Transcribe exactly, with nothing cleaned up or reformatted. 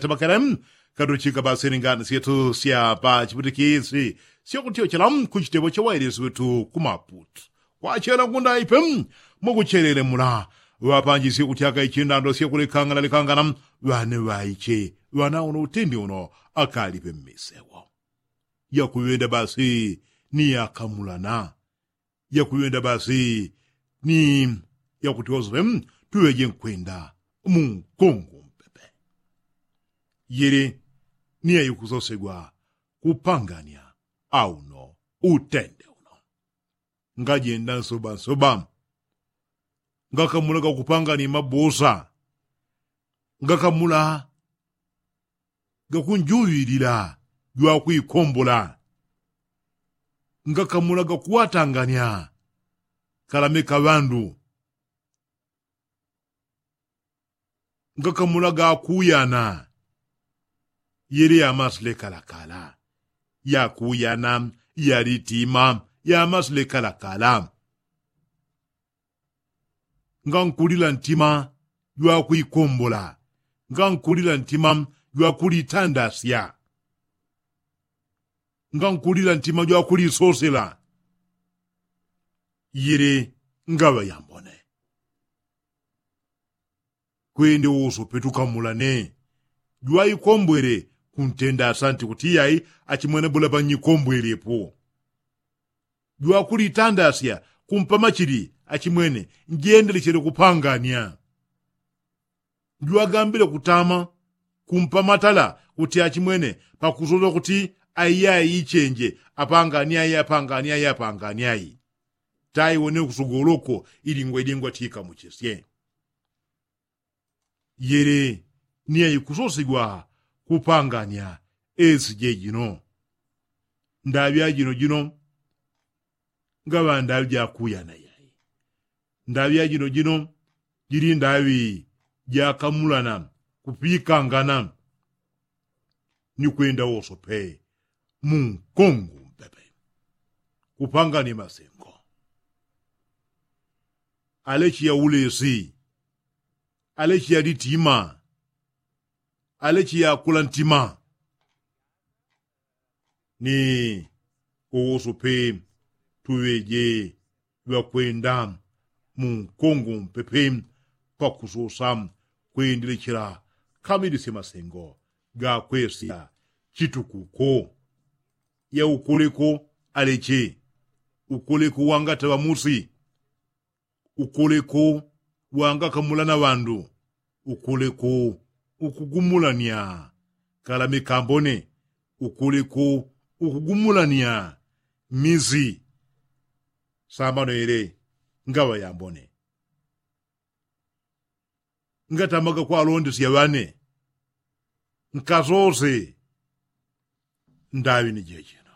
tebakele katuchika basili ngani syetu sya pachiputikisi syakutyochela kuchitepo chawailisi wetu kumaputu. Kwachela ngundaipe mwakuchelele mula ŵapanjisye kutyaka ichindando syakulekangana lekangana ŵane ŵaiche ŵana uno utindi uno akalipe mmisewo. Yakuŵenda basi ni yakamulana yakuŵenda basi ni yakutyosope tuŵeje nkwenda munkungu mpepe. Yili ni yaikusosegwa kupangania auno utende uno. Ngajenda nsobansoba ngakamula gakupangania mabusa ngakamula gakunjuŵilila jwakwikombola ngakamula gakuwatangania kalame ka ŵandu ngakamula gakuyana. Yili yamasile kalakala yakuyana yalitima yamasile kalakala. Ngankulila ntima jwakwikombola ngankulila ntima jwakulitandasya ngankulila ntima jwakulisosela. Yili ngaŵa yambone kwende wosope tukamulane jwaikombwele kuntenda asanti kuti yai achimwene bula panyikombwelepo jwakulitandasya kumpama chili achimwene njendelechele kupangania. Jwagambile kutama kumpamatala kuti achimwene pakusosa kuti aiyai ichenje apangani ai apangani ai apangani ai. Taiwone kusogoloko ilingwa ilingwa tikamuchesye. Yili ni yaikusosigwa kupangania esi jejino. Ndaŵi ajino jino ngaŵa ndaŵi jakuyana yai. Ndaŵi ajino jino jili ndaŵi jakamulana kupikangana ni kwenda wosope munkungu mpepe. Kupangania masengo alechi yaulesi alechi yalitima alechi yakula ntima. Ni uwosope tuŵeje ŵakwenda munkungu mpepe pakusosa kwendelechela kamilisye masengo gakwesya chitukuko. Yaukoleko aleche ukoleko wangataŵa musi ukoleko wangakamulana ŵandu ukoleko ukugumulania kalame kambone ukoleko ukugumulania misi. Sambano yele ngaŵa yambone ngatamaga kwalondesya ŵane nkasose. Ndaŵi ni jejino.